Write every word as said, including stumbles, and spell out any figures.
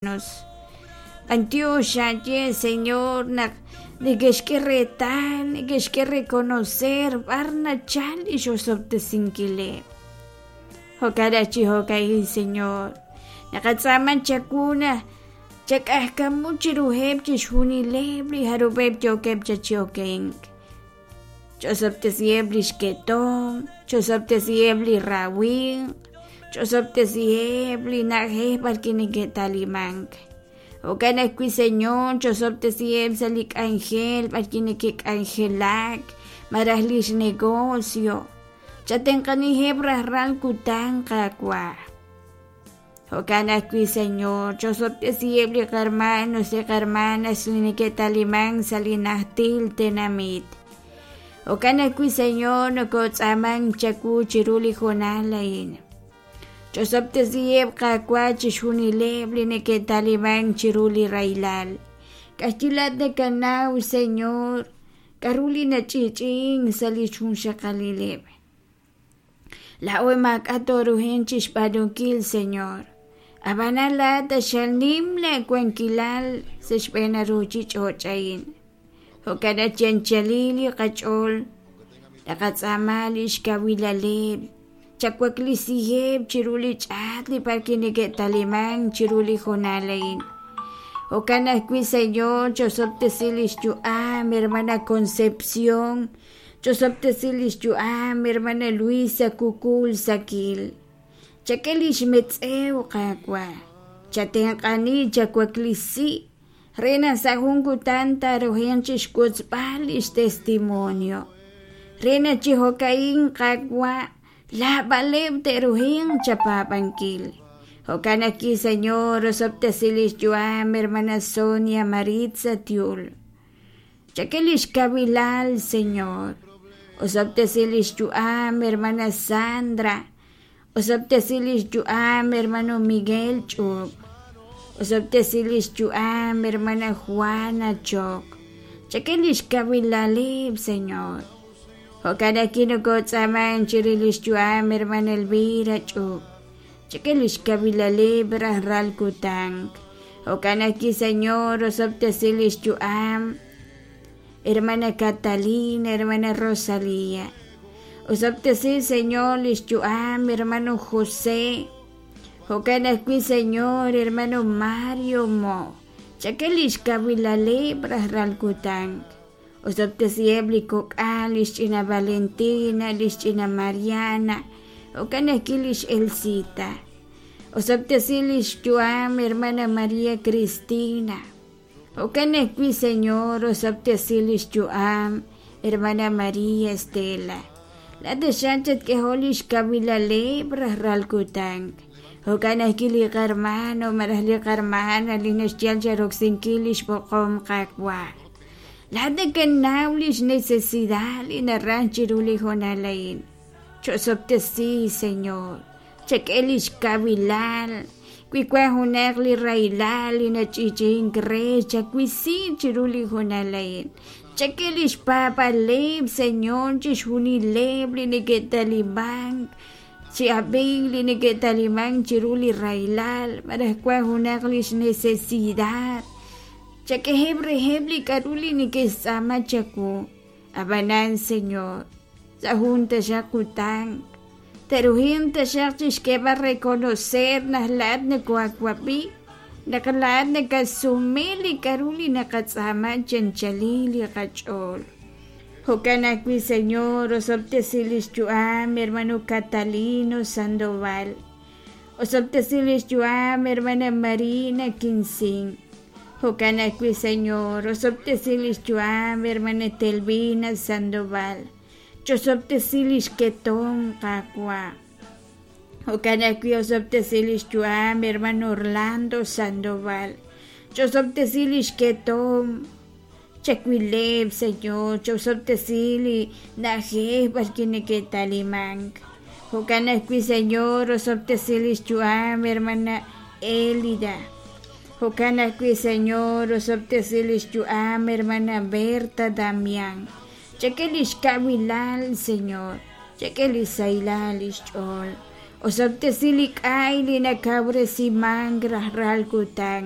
B'antiox xaye Señor naq neke'xk'e reetal neke'xk'e reconocer b'ar nachal li xosob'tesinkileb'. Jo'kan chi jo'ka'in Señor naqatz'aama chawu naq chak'ajkamu chiruheb' chixjunileb' li jarub'eb' yookeb' chachiokenk. Ch'osob'tesiheb' li xketom, ch'osob'tesiheb' li rawimq, ch'osob'tesiheb' li na'ajej b'arwi' neke'talimank. Jo'kan ajwi' Señor ch'osob'tesiheb' sa' li k'anjel b'arwi' neke'k'anjelak malaj li xnegocio. Chatenq'aniheb' rajlal kutan Qaawa'. Jo'kan ajwi' Señor ch'osob'tesiheb' li qarmanos li qarmanas li neke'talimank sa' li najtil tenamit. Jo'kan ajwi' Señor nokotz'aamank chawu chiru li hoonal a'in. Ch'osob'tesiheb' Qaawa' chixjunileb' li neke'talimank chiru li rahilal. K'axyilat nakanaw Señor k'a'ru li nach'i'ch'i'ink sa' li xjunxaqalileb'. Laa'o maak'a' tooruhin chixb'aanunkil Señor. Ab'anan laa'at axal nim laawankilal sa' xb'een ruuchich'och' a'in. Jo'kan naq chi anchalil li qach'ool naqatz'aama li xkawilaleb', chawaklisiheb' chiru li ch'aat li b'arwi' neke'talimank chiru li hoonal a'in. Jo'kan ajwi' Señor ch'osob'tesi li xyu'am hermana Concepción, ch'osob'tesi li xyu'am hermana Luisa Kukul Sakil. Chak'e li xmetz'ew Qaawa', chatenq'ani chawaklisi re naq sa' jun kutan taaruhinq chixwotzb'al li xtestimonio. Re naq chi jo'ka'in Qaawa' laab'aleb' te'ruhinq chapaab'ankil. Jo'kan ajwi' Señor osob'tesi li xyu'am hermana Sonia Maritza Tiul. Chak'e li xkawilal Señor. Osob'tesi li xyu'am hermana Sandra. Osob'tesi li xyu'am hermano Miguel Ch'up. Osob'tesi li xyu'am hermana Juana Chok. Chak'e li xkawilaleb' Señor. Jo'kan ajwi' nokotz'aamank chiru li xyu'am hermana Elvira Ch'up. Chak'e li xkawilaleb' rajlal kutan. Jo'kan ajwi' Señor osob'tesi li xyu'am hermana Catalina, hermana Rosalía. Osob'tesi Señor li xyu'am hermano José. Jo'kan ajwi' Señor hermano Mario Mo. Chak'e li xkawilaleb' rajlal kutan. Osob'tesiheb' li kok'al, li xch'ina Valentina, li xch'ina Mariana, jo'kan ajwi' li xElcita. Osob'tesi li xyu'am hermana María Cristina. Jo'kan ajwi' Señor osob'tesi li xyu'am hermana María Estela. Laat xan chatk'ejo li xkawilaleb' rajlal kutan. Jo'kan ajwi' li qarmano malaj li qarmana li naxyal charoksinkil li xb'oqom Qaawa'. Laat nakanaw li xnecesidad li naraj chiru li hoonal a'in. Ch'osob'tesi Señor. Chak'e li xkawilal. Wi wan junaq li rahilal li nach'i'ch'i'ink re chawisi chiru li hoonal a'in. Chak'e li xpaab'aleb' Señor chixjunileb' li neke'talimank chi ab'ink li neke'talimank chiru li rahilal malaj wan junaq li xnecesidad. Chak'eheb' reheb' li k'a'ru li neke'xtz'aama chawu. Ab'anan Señor, sa' jun taxaq kutan te'ruhinq taxaq chixk'eeb'al reconocer naq laa'at nakoawab'i, naq laa'at nakasumi li k'a'ru li naqatz'aama chi anchalil li qach'ool. Jo'kan ajwi' Señor osob'tesi li xyu'am hermano Catalino Sandoval. Osob'tesi li xyu'am hermana Marina Quincín. Jo'kan ajwi' Señor osob'tesi li xyu'am hermana Telvina Sandoval. Ch'osob'tesi li xketom Qaawa'. Jo'kan ajwi' osob'tesi li xyu'am hermano Orlando Sandoval. Ch'osob'tesi li xketom. Chakwileb' Señor, ch'osob'tesi li na'ajej b'arwi' neke'talimank. Jo'kan ajwi' Señor osob'tesi li xyu'am hermana Elida. Jo'kan ajwi' Señor osob'tesi li xyu'am hermana Berta Damián. Chak'e li xkawilal Señor, chak'e li sahilal li xch'ool. Osob'tesi li k'ay li nakawresimank rajlal kutan.